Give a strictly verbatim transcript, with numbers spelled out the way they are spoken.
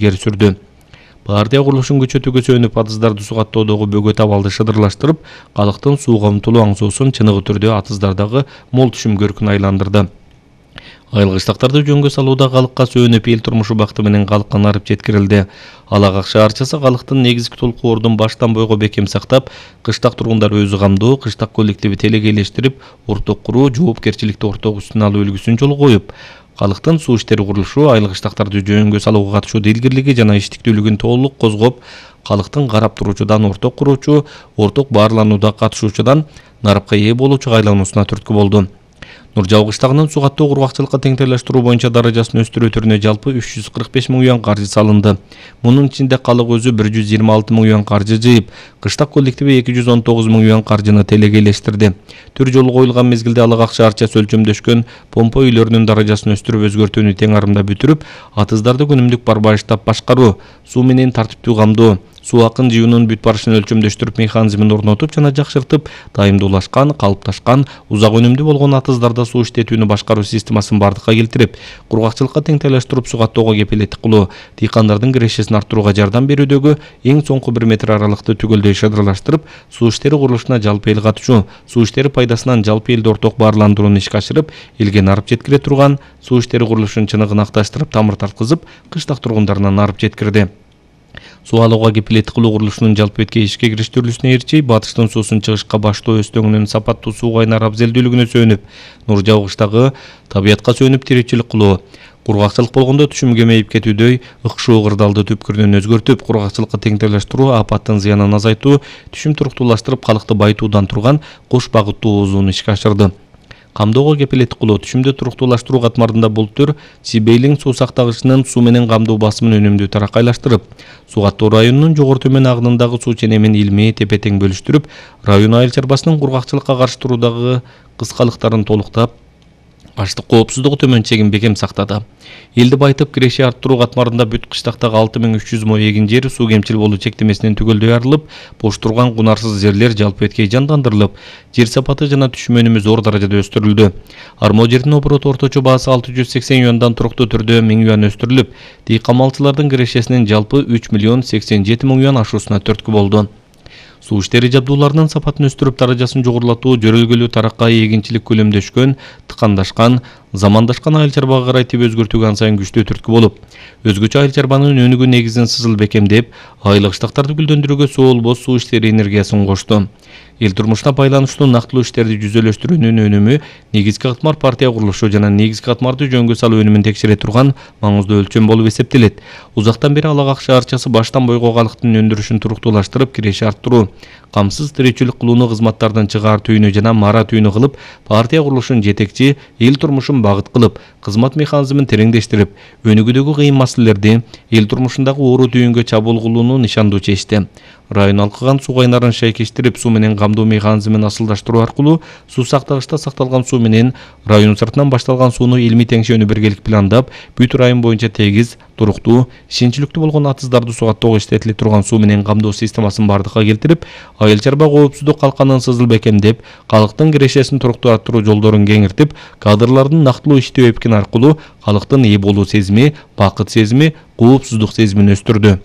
илгери сүрдү. Партия курулушун күчөтүүгө сүйөнүп атыздарды сугаттоодогу бөгөт абалды шыдырлаштырып, калктын сууга умтулуу аңсоосун чыныгы түрдө атыздардагы мол түшүм көркүнө айландырды. Айылгычтактарды жөнгө салууда калкка сүйөнүп эл турмушу бакты менен калкка нарып жеткирилди. Ала Ак шаарчасы калктын негизги толкуордун баштан бойго бекем сактап, кыштак тургундары өзү камдоо, кыштак коллективи телегейлештирип, орток куруу, жоопкерчиликти орток үстүнө алуу үлгүсүн жолго коюп, калктын суу иштери курулушу, айылгычтактарды жөнгө салууга катышуу илгирлиги жана иштиктүүлүгүн толук козгоп, калктын карап туруучудан орток куруучу, орток баарланууда катышуучудан нарыпка ээ болуучуга айлануусуна түрткү болду. Нуржабыл кыштагынын сугаттоо кургакчылыкка теңдештирүү боюнча даражасын өстүрүү түрүнө жалпы үч жүз кырк беш миң юан каржы салынды. Мунун ичинде калык өзү бир жүз жыйырма алты миң юан каржы жыйып, кыштак коллективи эки жүз он тогуз миң юан каржыны телегейлештирди. Төр жолу коюлган мезгилде Ала Ак шаарчасы өлчөмдөшкөн помпа үйлөрүнүн даражасын өстүрүп өзгөртүүнү тең арымда бүтүрүп, атыздарды күнүмдүк барбайыштап башкаруу, суу менен тартиптүү камдоо, суу акын жыюунун бүт барышын өлчөмдөштүрүп механизмин орнотуп жана жакшыртып, дайымдуулашкан, калыпташкан, узак өнүмдүү болгон атыздарда суу иштетүүнү башкаруу системасын бардыкка келтирип, кургакчылыкка теңдештирип сугаттоого кепилеттик кылуу, дыйкандардын кирешесин арттырууга жардам берүүдөгү эң соңку бир метр аралыкты түгөлдөй шыдырлаштырып, суу иштери курулушуна жалпы эл катышуу, суу иштери пайдасынан жалпы элди орток баарландырууну ишке ашырып, элге нарып жеткире турган суу иштери курулушунун чыныгын акташтырып, тамыр тарткызып, кыштак тургундарына нарып жеткирди. Суу алууга кепилеттик кылуу курулушунун жалпы бетке ишке кириштирүүсүнө ээрчи, батыштын суусун чыгышка баштоо өстөңүнүн сапаттуу суу кайнар абзелдүүлүгүнө сүйөнүп, Нуржабыл кыштагы табиятка сүйөнүп тиричилик кылуу, кургакчылык болгондо түшүм кемейип кетүүдөй ыкшоо кырдаалды түпкүрүнөн өзгөртүп, кургакчылыкка теңдештирүү, апаттын зыянын азайтуу, түшүм туруктуулаштырып, калкты байытуудан турган кош багыттуу озууну ишке ашырды. Камдоого кепилеттик кылуу, түшүмдү туруктуулаштыруу катмарында бул түр Сибейлиң суу сактагычынын суу менен камдоо басымын өнүмдүү таракайлаштырып, Сугаттоо районунун жогору төмөн агынындагы суу ченемин илмий тепе-тең бөлүштүрүп, район айыл чарбасынын кургакчылыкка каршы туруудагы кыскалыктарын толуктап, аштык коопсуздугу төмөн чегин бекем сактады. Элди байытып, киреше арттыруу катмарында бүт кыштактагы алты миң үч жүз мо эгин жер суу кемчил болуу чектемесинен түгөлдөй арылып, бош турган кунарсыз жерлер жалпы беткей жандандырылып, жер сапаты жана түшүм өнүмү зор даражада өстүрүлдү. Армо жердин обороту орточо баасы алты жүз сексен юандан туруктуу түрдө миң юан өстүрүлүп, дыйкан малчылардын кирешесинин жалпы үч миллион сексен жети миң юан ашуусуна түрткү болду. Суу иштери жабдууларынын сапатын өстүрүп, даражасын жогорулатуу, жөрөлгөлүү таракка эгинчилик көлөмдөшкөн, тыкандашкан, замандашкан айыл чарбага карай тип өзгөртүүгө ан сайын күчтүү түрткү болуп, өзгөчө айыл чарбанын өнүгүү негизин сызыл бекемдеп, айылгычтактарды гүлдөндүрүүгө суу болбос суу иштери энергиясын кошту. Эл турмушуна байланыштуу нактылуу иштерди жүзөлөштүрүүнүн өнүмү негизги катмар партия курулушу жана негизги катмарды жөнгө салуу өнүмүн текшере турган маңыздуу өлчөм болуп эсептелет. Узактан бери Ала Ак шаарчасы баштан бойго калктын өндүрүшүн туруктуулаштырып, киреше арттыруу, камсыз тиричилик кылууну кызматтардын чыгаар түйүнү жана мара түйүнү кылып, партия курулушун жетекчи, эл турмушун багыт кылып, кызмат механизмин тереңдештирип, өнүгүүдөгү кыйын маселелерди, эл турмушундагы оору түйүнгө чабуул кылууну нишандуу чечти. Район алкыган суу кайнарын шайкештирип, суу менен камдоо механизмин асылдаштыруу аркылуу суу сактагычта сакталган суу менен район сыртынан башталган сууну илмий теңшөөнү биргелик пландап, бүт район боюнча тегиз, туруктуу, ишенчиликтүү болгон атыздарды сугаттоого иштетиле турган суу менен камдоо системасын бардыкка келтирип, айыл чарба коопсуздук калканын сызыл бекемдеп, калктын кирешесин туруктуу арттыруу жолдорун кеңиртип, кадрлардын нактылуу иштөө эпкин аркылуу калктын ээ болуу сезими, бакыт сезими, коопсуздук сезимин өстүрдү.